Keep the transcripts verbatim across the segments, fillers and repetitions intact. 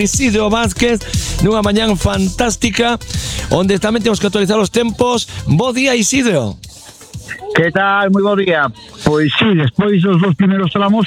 Isidro Vázquez nunha mañán fantástica onde tamén temos que actualizar os tempos. Bo día, Isidro. Que tal? Moi bo día. Pois sí, despois dos dos primeiros tramos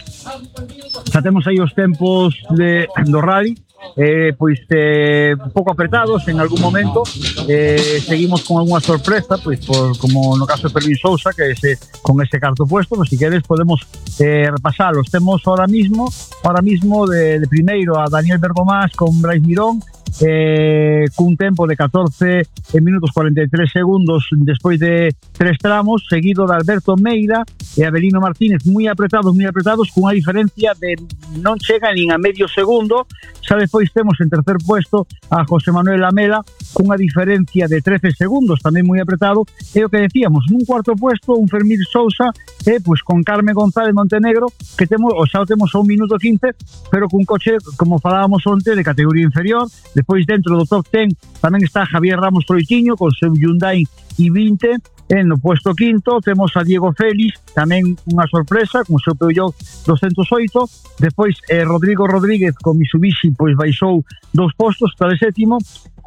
xa temos aí os tempos de, do rally, eh, pois eh, un pouco apretados en algún momento, eh, seguimos con algunha sorpresa, pois por, como no caso de Fermín Sousa, que ese, con ese cuarto puesto, pues, si queres podemos eh, repasalos. Temos ahora mismo ahora mismo de, de primeiro a Daniel Bergomás con Brais Mirón, eh, cun tempo de catorce minutos cuarenta e tres segundos despois de tres tramos, seguido de Alberto Meira e Avelino Martínez, moi apretados, moi apretados, cunha diferencia de non chega nin a medio segundo. Xa despois temos en tercer puesto a José Manuel Lamela cunha diferencia de trece segundos, tamén moi apretado, e o que decíamos, nun cuarto puesto un Fermín Sousa, eh, pois con Carmen González Montenegro, que temos, o xa o temos a un minuto quince, pero cun coche, como falábamos onte, de categoría inferior. Despois dentro do top ten tamén está Javier Ramos Troitiño con seu Hyundai i vinte. En no puesto quinto temos a Diego Félix, tamén unha sorpresa con o seu Peugeot doscientos oito. Despois eh, Rodrigo Rodríguez con Mitsubishi pois baixou dos postos, está de sétimo.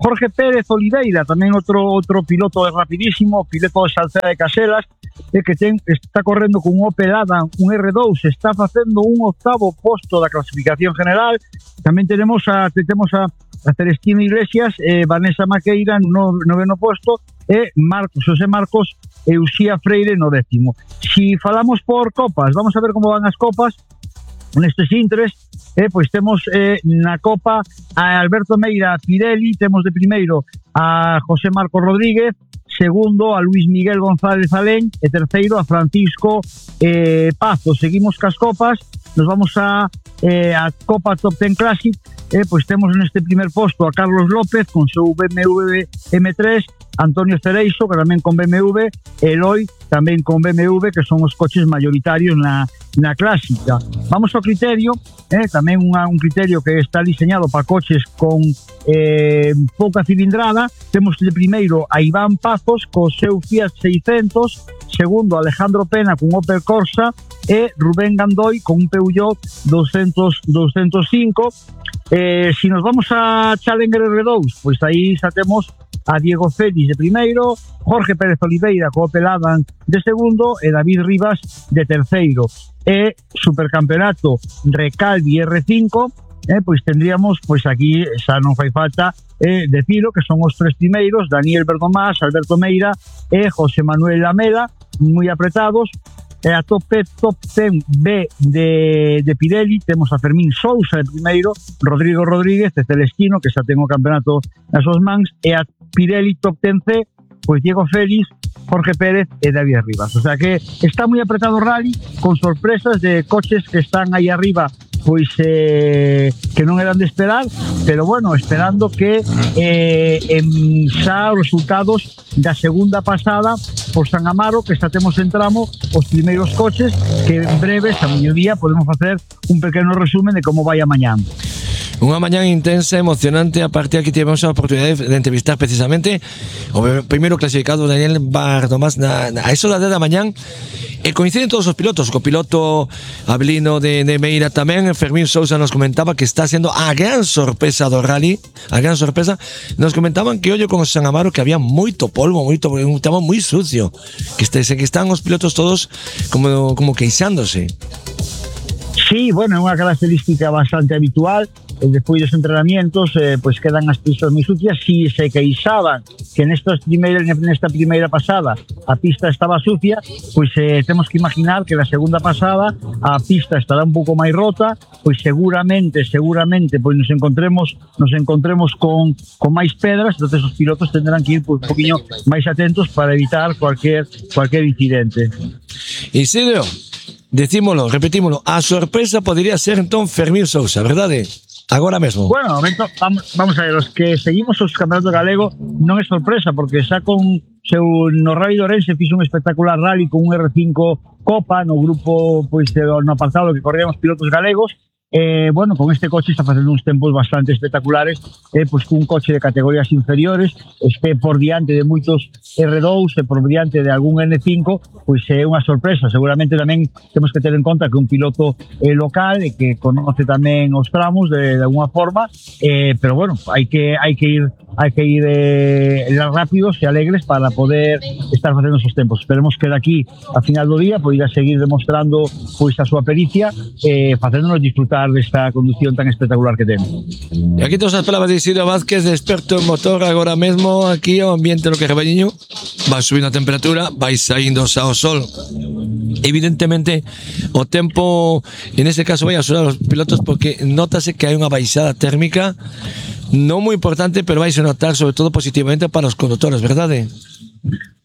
Jorge Pérez Oliveira, tamén outro outro piloto rapidísimo, piloto de Salceda de Caselas, eh, que ten, está correndo con un Opel Adam, un R dous, está facendo un octavo posto da clasificación general. Tamén tenemos a temos a, a Celestina Iglesias, eh, Vanessa Maqueira no noveno posto, e Marcos, José Marcos e Uxía Freire no décimo. Si falamos por copas, vamos a ver como van as copas nestes intres. Eh, pois temos eh, na Copa a Alberto Meira Pirelli, temos de primeiro a José Marcos Rodríguez, segundo a Luis Miguel González Alén e terceiro a Francisco eh, Pazo. Seguimos cas copas, nos vamos a eh, a Copa Top Ten Classic, eh, pois temos neste primer posto a Carlos López con seu B M W M tres, Antonio Cereixo, que tamén con B M W, Eloi tamén con B M W, que son os coches mayoritarios na, na clásica. Vamos ao criterio, eh, tamén unha, un criterio que está diseñado para coches con eh, pouca cilindrada. Temos de primeiro a Iván Pazos co seu Fiat seiscentos, segundo Alejandro Pena con Opel Corsa e Rubén Gandoy con un Peugeot doscientos, doscientos cinco. Eh, si nos vamos a Challenger R dous, pois aí xa temos a Diego Félix de primeiro, Jorge Pérez Oliveira co Opel Adam de segundo e David Rivas de terceiro. E Supercampeonato Recalvi R cinco, eh, pois tendríamos, pois aquí xa non fai falta eh, decilo, que son os tres primeiros, Daniel Bergomás, Alberto Meira e José Manuel Lamela, moi apretados. E a top, top ten B de, de Pirelli temos a Fermín Sousa de primeiro, Rodrigo Rodríguez de Celestino, que xa ten o campeonato nas súas mans, e a Pirelli top ten C, pois Diego Félix, Jorge Pérez e David Rivas. O sea que está moi apretado o rally, con sorpresas de coches que están aí arriba, pois eh, que non eran de esperar, pero bueno, esperando que eh, en xa os resultados da segunda pasada por San Amaro, que xa temos en tramo os primeiros coches, que en breves, a mediodía, podemos facer un pequeno resumen de como vai a mañán. Unha mañán intensa, emocionante. A partir aquí tivemos a oportunidade de entrevistar precisamente o primeiro clasificado, Daniel Bergomás, na, na, a eso da dez da mañán, e coinciden todos os pilotos. O piloto Avelino de, de Meira tamén. Fermín Sousa nos comentaba que está sendo a gran sorpresa do rally, a gran sorpresa. Nos comentaban que ollo con o San Amaro, que había moito polvo, moito, un tema moi sucio, que, este, que están os pilotos todos como, como queixándose. Sí, bueno, é unha característica bastante habitual. Despois dos entrenamientos, eh, pois quedan as pistas moi sucias. Si se queixaban que nestas primeiras, nesta primeira pasada a pista estaba sucia, pois eh, temos que imaginar que na segunda pasada a pista estará un pouco máis rota, pois seguramente, seguramente, pois nos encontremos nos encontremos con, con máis pedras. Entonces os pilotos tendrán que ir pois, un poquinho máis atentos para evitar cualquier, cualquier incidente. Isidro, decímolo, repetímolo, a sorpresa podría ser entón Fermín Sousa, verdade? Agora mesmo. Bueno, momento, vamos, vamos a ver, os que seguimos os campeonatos galego non é sorpresa, porque xa con seu no Rally de Ourense fixo un espectacular rally con un R cinco Copa no grupo, pois no apartado que corrían os pilotos galegos, Eh, bueno, con este coche está facendo uns tempos bastante espectaculares, eh, pois cun coche de categorías inferiores, este por diante de moitos erre dous e por diante de algún ene cinco, pois é unha sorpresa. Seguramente tamén temos que ter en conta que un piloto eh, local e que conoce tamén os tramos de, de alguna forma, eh, pero bueno, hai que hai que ir hai que ir eh, rápidos e alegres para poder estar facendo esos tempos. Esperemos que daqui a final do día poida seguir demostrando pois a súa pericia e eh, facéndonos disfrutar desta conducción tan espectacular que ten. E aquí todas as palabras de Isidro Vázquez, de experto en motor, agora mesmo aquí o ambiente no que Carballiño vai subindo a temperatura, vai saindo ao sol. Evidentemente o tempo en este caso vai axudar aos pilotos porque notase que hai unha baixada térmica non moi importante, pero vai se notar sobre todo positivamente para os condutores, verdade?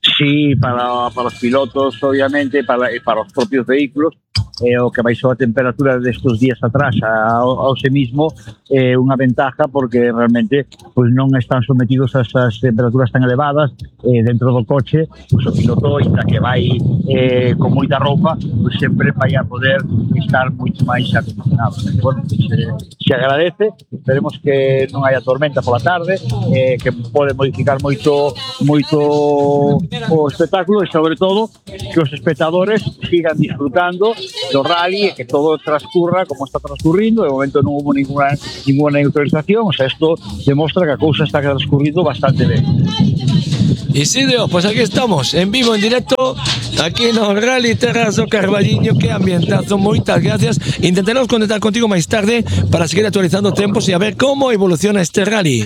Sí, para, para os pilotos obviamente, para, para os propios vehículos, eh, o que baixou a temperatura destes días atrás ao, ao se mismo é eh, unha ventaja porque realmente pues, non están sometidos a esas temperaturas tan elevadas eh, dentro do coche, pues, o piloto ainda que vai eh, con moita roupa pues, sempre vai a poder estar moito máis acondicionado. Bueno, pues, eh, se agradece, esperemos que non haya tormenta pola tarde, eh, que pode modificar moito moito o espectáculo e sobre todo que os espectadores sigan disfrutando do rally e que todo transcurra como está transcurrindo. De momento non hubo ninguna, ninguna neutralización, o sea, isto demostra que a cousa está transcurrindo bastante ben. Isidro, pues aquí estamos, en vivo, en directo, aquí no Rally Terras do Carballiño, que ambientazo, moitas gracias. Intentaremos conectar contigo máis tarde para seguir actualizando tempos e a ver como evoluciona este rally.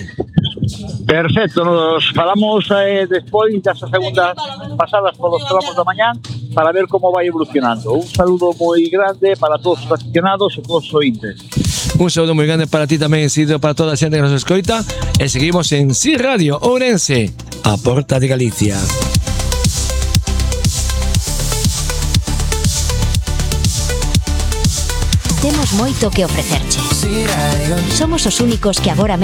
Perfecto, nos falamos eh, despois das segundas pasadas polos tramos da mañán para ver como vai evolucionando. Un saludo moi grande para todos os aficionados e todos os ointes. Un saludo moi grande para ti tamén, Isidro, para toda a xente que nos escoita, e seguimos en Si Radio Ourense, a porta de Galicia. Temos moito que ofrecerche. Somos os únicos que agora